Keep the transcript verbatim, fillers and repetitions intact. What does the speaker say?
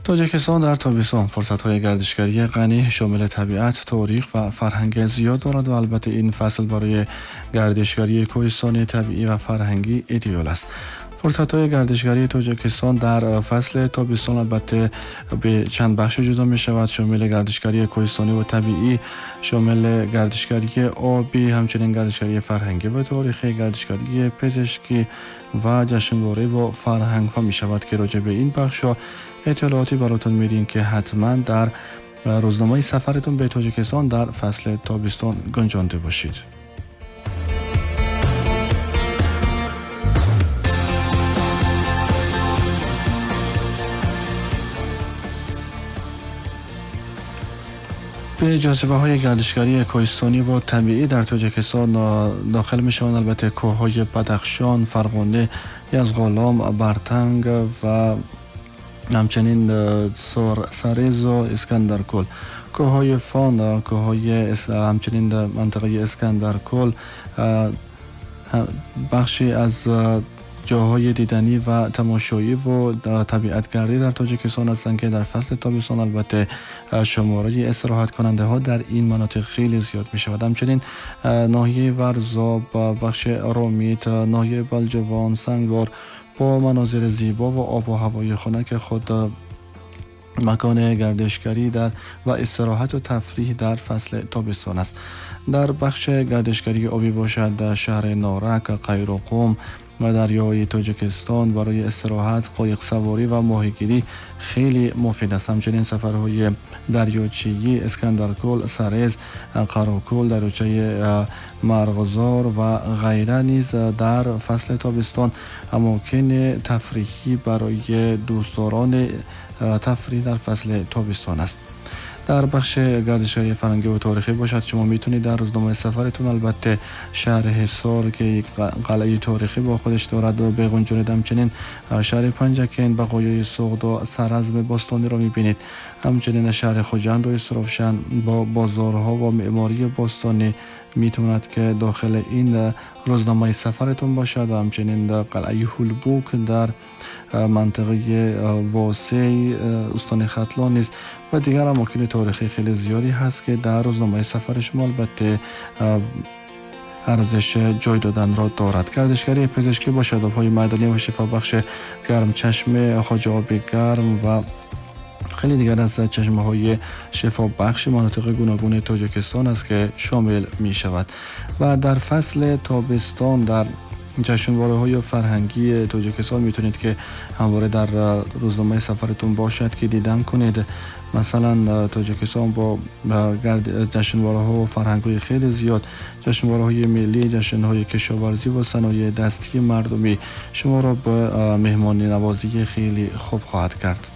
тоҷикистон дар тобистон фурсатҳои гардишгарии ғанӣ шомили табиат, таърих ва фарҳанг зиёд дорад ва албатта ин фасл барои гардишгарии кӯҳистонӣ, табиӣ ва фарҳангӣ идеал аст. фурсатҳои гардишгарии тоҷикистон дар фасли тобистон албатта ба чанд бахш ҷудо мешавад, шомили гардишгарии кӯҳистонӣ ва табиӣ, шомили гардишгарии обӣ, ҳамчунин гардишгарии фарҳангӣ ва таърихӣ, гардишгарии пизишкӣ ва ҷашнвора ва фарҳангҳо мешавад ки роҷеъ ба ин бахшҳо иттилооте баротон медиҳем ки ҳатман дар рӯзномаи сафаратон ба тоҷикистон дар фасли тобистон гунҷонда бошед. به جاذبه‌های گردشگری کوهستانی و طبیعی در تاجیکستان داخل می‌شوند البته کوه‌های بدخشان، فرغانه، یزغالام، برتنگ و همچنین سرسریز و اسکندرکول. کوه‌های فان، کوه‌های همچنین در منطقه اسکندرکول بخشی از جاهای دیدنی و تماشایی و طبیعتگردی در تاجیکستان هستند که در فصل تابستان البته شماره استراحت کننده ها در این مناطق خیلی زیاد می شود. همچنین ناحیه ورزاب، بخش رامیت، ناحیه بلجوان، سنگوار با مناظر زیبا و آب و هوای خنک خود مکان گردشگری در و استراحت و تفریح در فصل تابستان است. در بخش گردشگری آبی باشد در شهر نارک، قیرقم و دریای تاجیکستان برای استراحت، قایق سواری و ماهیگیری خیلی مفید است. همچنین سفرهای دریاچه‌ای اسکندرکول، سرز، قراکول، دریاچه مرغزار و غیره نیز در فصل تابستان اماکن تفریحی برای دوستداران تفریح در فصل تابستان است. در بخش گردشگری فرهنگی و تاریخی باشد شما میتونید در روزنامه سفرتون البته شهر حصار که یک قلعه تاریخی با خودش دارد و بغنجونید. همچنین شهر پنجکند، بقایای سغد و سرزم باستانی را میبینید. همچنین شهر خجند و استروفشن با بازارها و معماری باستانی میتواند که داخل این روزنامه سفرتون باشد و همچنین در قلعه هولبوک در منطقه واسع استان ختلان نیز و دیگر اماکن تاریخی خیلی زیادی هست که در روزنامه سفر شما البته ارزش جای دادن را دارد. گردشگری پزشکی با شاداب‌های معدنی و شفابخش گرم چشمه، خواجه آب گرم و خیلی دیگر از چشمه های شفابخش مناطق گوناگون تاجیکستان است که شامل می شود. و در فصل تابستان در جشنواره های فرهنگی تاجیکستان می تونید که همواره در روزنامه سفرتون باشد که دیدن کنید. مثلا تاجیکستان با جشنواره ها و فرهنگ های خیلی زیاد، جشنواره های ملی، جشن های کشاورزی و صنایع دستی مردمی شما را به مهمانی نوازی خیلی خوب خواهد کرد.